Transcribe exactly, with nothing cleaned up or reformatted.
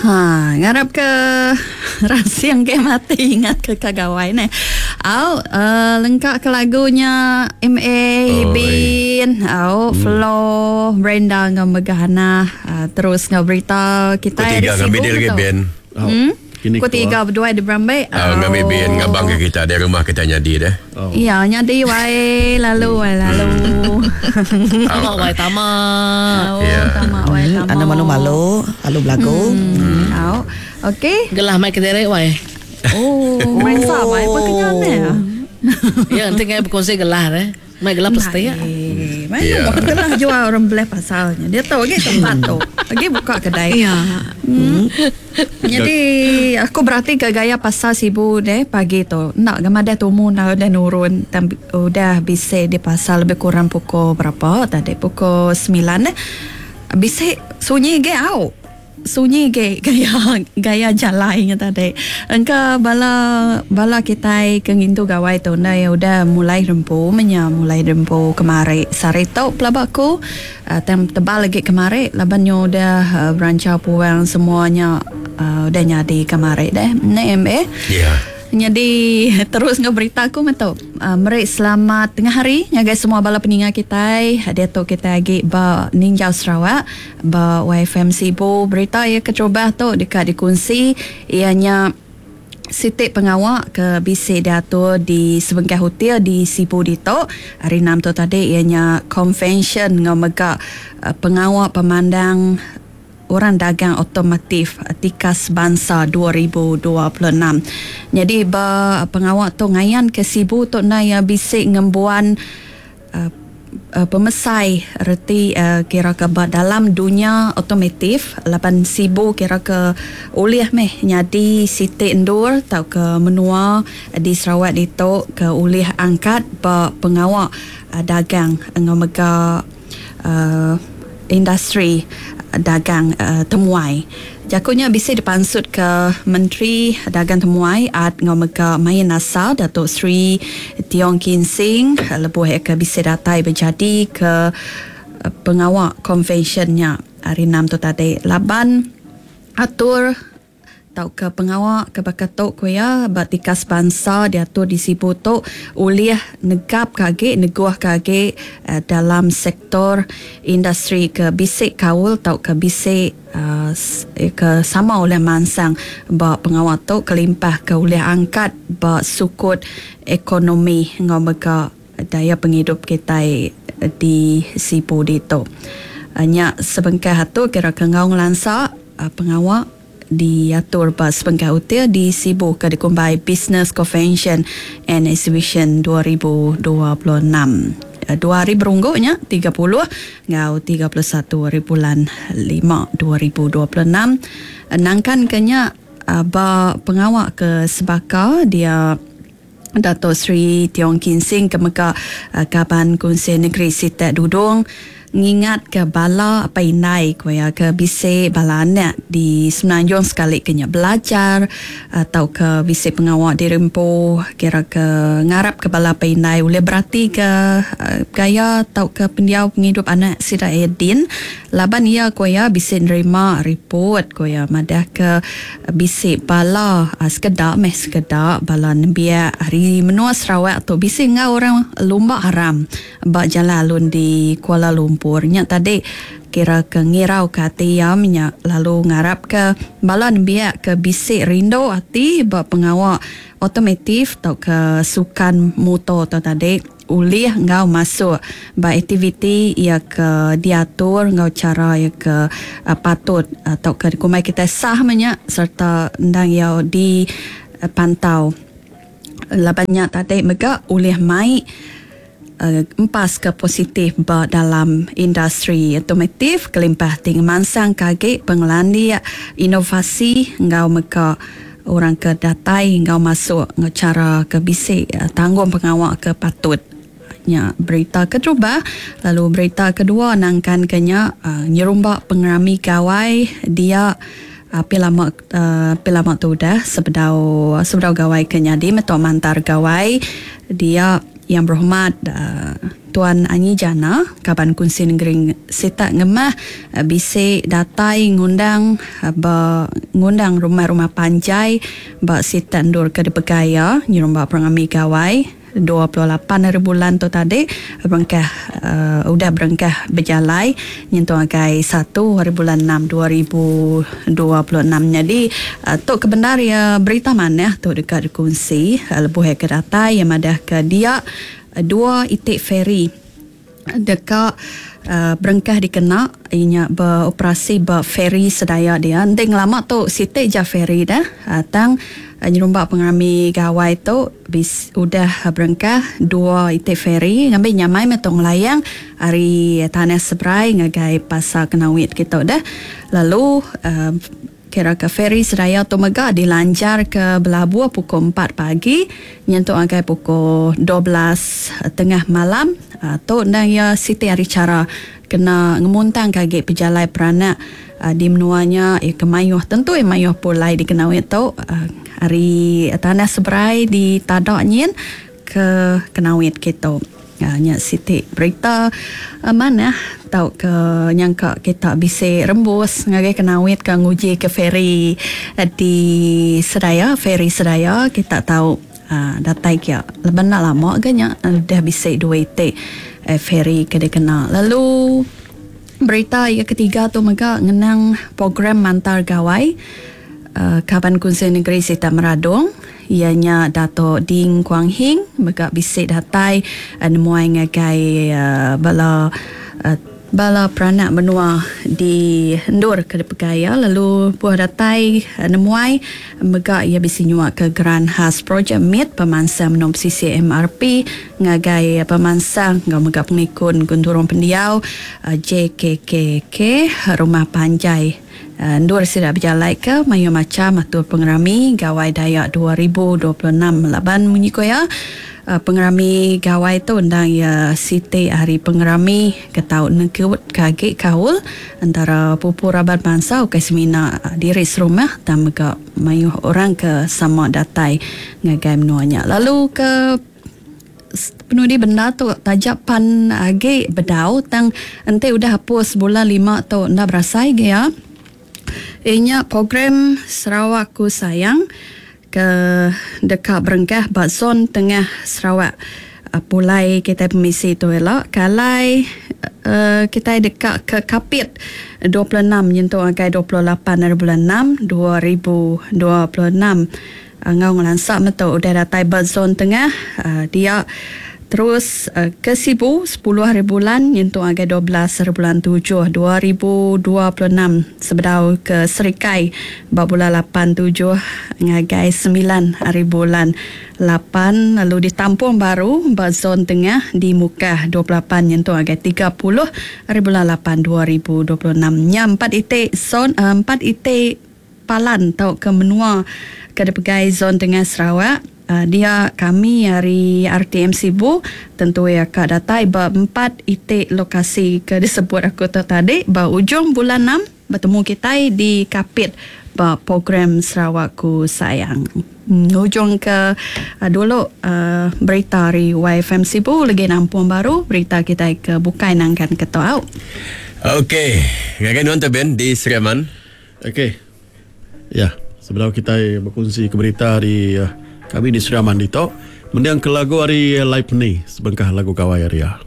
Ha, ngarap ke rasing ke mati ingat ke kagawai ne. Au, uh, lengkap ke lagunya M A Oh, Bin, au hmm. Flo, Brenda ngau Megahana, uh, terus ngau berita kita Ku tiga ngambil dia lagi Ben. Oh. Hmm? Ku tiga berdua di Berambai. Oh, ngambil Ben ngabang ke kita di rumah kita nyadi deh. Oh. Iya, nyadi wai lalu wai lalu. Tamak wai tamak. Ya. Tamak wai tamak. Anda malu-malu, lalu belagu. Hmm. Hmm. Okey. Gelah mai kederek wai. Oh, merasa wai apa kenyan ne. Ya, nanti ngai berkongsi gelah deh. Mai gelah pasti ya. Mai yeah. Gelah jual orang belah pasalnya. Dia tahu lagi tempat tu. Lagi buka kedai. Ya. Hmm. Jadi aku berarti ke gaya pasar Sibu deh pagi tu. Nak gamar dah tumu nak dah nurun tam, udah bisa di pasar lebih kurang pukul berapa tadi? Pukul sembilan deh. Bisa sunyi ge au. Sunyi ge gaya gaya jalannya tadi. Engka bala bala kita ke ngintu gawai tu na ya udah mulai rempu menya mulai rempu kemari sari tu pelabaku uh, tem tebal lagi kemari laban nyo udah uh, berancau puang semuanya uh, udah nyadi kemari deh. Ne M A. Ya. Yeah. Jadi terus ngau berita aku metu. Uh, merik selamat tengah hari ngagai semua bala peninga kita. Dia tu kita lagi ba Ninjau Sarawak ba Y F M Sibu. Berita ia keterubah tu dekat dikongsi ianya sitik pengawak ke bisik diatur di sebengkah hotel di Sibu dito. Hari enam tu tadi ianya convention ngau mega uh, pengawak pemandang orang dagang otomotif Tikas Bangsa dua ribu dua puluh enam. Jadi ba pengawak tu ngayan ke Sibu tu na ya bisik ngembuan uh, uh, pemesai reti uh, kira ke ba dalam dunia otomotif lapan Sibu kira ke ulih meh nyadi siti endur tau ke menua di Sarawak ditu ke ulih angkat ba pengawak uh, dagang ngau mega uh, industri dagang uh, temuai. Jakunya bisa dipansut ke Menteri Dagang Temuai Ad ngau mega main asal Datuk Seri Tiong Kin Sing lebuh ke bisa datai berjadi ke uh, pengawak konvensyennya hari enam tu tadi. Laban atur tau ke pengawak ke bakatok kuya batikas bangsa diatur di Sibu tu ulih negap kage neguh kage uh, dalam sektor industri ke bisik kaul tau ke bisik uh, ke sama oleh mansang ba pengawak tu kelimpah ke ulih angkat ba sukut ekonomi ngau mega daya penghidup kita di Sibu ditu. Uh, nya sebengkah tu kira ke ngau ngelansa uh, pengawak diatur ba sebengkah hotel di Sibu ke dikumbai Business Convention and Exhibition dua ribu dua puluh enam. Dua hari berungguknya tiga puluh ngau tiga puluh satu hari bulan lima dua ribu dua puluh enam. Nangkan kenya ba pengawak ke sebaka dia Datuk Seri Tiong Kin Sing ke mega Kaban Kunsi Negeri Sitak Dudung ngingat ke bala apa indai kuya ke bise bala anak di Semenanjung sekali kena belajar atau ke bise pengawak di rempo kira ke ngarap ke bala apa indai boleh berarti ke gaya atau ke pendiau penghidup anak sida Edin laban ia kuya bise nerima report kuya madah ke bise bala sekedak meh sekedak bala nembiak hari menua Sarawak tu bise ngau orang lumba haram ba jalan alun di Kuala Lumpur. Nya tadi kira ke ngirau ke hati ya minyak lalu ngarap ke bala nembiak ke bisik rindu hati ba pengawak otomotif atau ke sukan motor atau tadi ulih ngau masuk ba aktiviti ia ke diatur ngau cara ia ke uh, patut atau ke kumai kita sah minyak serta ndang ia di uh, pantau labannya tadi mega ulih mai Uh, empas ke positif ba dalam industri otomotif kelimpah ting mansang kage pengelandia inovasi ngau meka orang ke datai ngau masuk ngau cara ke bisik uh, tanggung pengawak ke patut nya berita keterubah. Lalu berita kedua nangkan kenya uh, nyerumbak pengerami gawai dia api lama uh, api lama tu dah sebedau sebedau gawai kenya di metok mantar gawai dia yang berhormat uh, Tuan Anyi Jana Kaban Kunsi Negeri Sitak Ngemah uh, bisi datai ngundang uh, ba ngundang rumah-rumah panjai ba Sitak Endur ke dipegaya nyerumba Perangami Gawai dua puluh lapan hari bulan tu tadi berengkah uh, udah berengkah berjalai nyentuh agai satu hari bulan enam dua ribu dua puluh enam. Jadi uh, tu kebenar ya berita manah tu dekat dikongsi uh, lebuh ke datai yang madah ke dia uh, dua itik ferry dekat uh, berengkah dikena inya beroperasi ba ferry sedaya dia. Nding lama tu sitik ja ferry dah uh, tang uh, nyerumba pengerami gawai tu bis udah berengkah dua itik ferry ngambil nyamai metong layang hari tanah seberai ngagai pasar Kenawit kita dah. Lalu uh, kira ke ferry sedaya tu mega dilanjar ke Belabuh pukul empat pagi nyentuk ngagai pukul dua belas tengah malam. Uh, tu ndang ya siti hari cara kena ngemuntang kage pejalai peranak uh, di menuanya ya kemayuh tentu ya mayuh pulai di Kenawit tu uh, hari tanah seberai di Tadak nyin ke Kenawit kita. Uh, nya siti berita uh, mana tau ke nyangka kita bisa rembus ngagai Kenawit ke nguji ke ferry uh, di Sedaya, ferry Sedaya kita tahu uh, datai kia leban nak lama ke nya dah bisa dua itik uh, ferry ke dikena. Lalu berita yang ketiga tu mega ngenang program Mantar Gawai uh, Kaban Kunsi Negeri Sitak Meradong ianya Dato' Ding Kuang Hing mega bisik datai uh, nemuai ngagai uh, bala uh, bala peranak menua di Endur ke Depegaya. Lalu buah datai uh, nemuai mega ia bisi nyuak ke Geran Khas Projek Mid pemansang menom C C M R P ngagai pemansang ngau mega pengikun Gunturung Pendiau uh, J K K K Rumah Panjai Endur sida berjalai ke mayu macam atur pengerami Gawai Dayak dua ribu dua puluh enam laban munyi ko ya pengerami gawai tu undang ya siti hari pengerami ke tau nekut kage kaul antara pupu raban bangsa ke semina diri serumah dan mega mayu orang ke sama datai ngagai menuanya. Lalu ke penudi benda tu tajak pan age bedau tang ente udah hapus bulan lima tu nda berasai ge ya. Inya program Sarawakku Sayang ke dekat berengkah ba zon tengah Sarawak. Pulai kita permisi tu elok kalai uh, kita dekat ke Kapit dua puluh enam nyentuh agai dua puluh lapan hari bulan enam dua ribu dua puluh enam. Ngau ngelansak metu udah datai ba zon tengah uh, dia terus uh, ke Sibu sepuluh hari bulan nyentuh agai dua belas hari bulan tujuh dua ribu dua puluh enam sebedau ke Serikai ba bulan lapan tujuh ngagai sembilan hari bulan lapan lalu ditampung baru ba zon tengah di Mukah dua puluh lapan nyentuh agai tiga puluh hari bulan lapan dua ribu dua puluh enam. Nya empat itik zon uh, empat itik palan tau ke menua ke dipegai zon tengah Sarawak. Uh, dia kami hari R T M Sibu tentu ya kak datai ba empat itik lokasi ke disebut aku tu tadi ba ujung bulan enam bertemu kita di Kapit ba program Sarawakku Sayang. Hmm, ujung ke uh, dulu uh, berita hari Y F M Sibu lagi nampung baru berita kita ke bukai nangkan ketua. Okey, ngagai nuan tu Ben di Sriaman. Okey. Ya, sebelum kita berkongsi ke berita di uh, kami di Sriaman dito, mendiang ke lagu hari Live ni, sebengkah lagu Gawai Ria.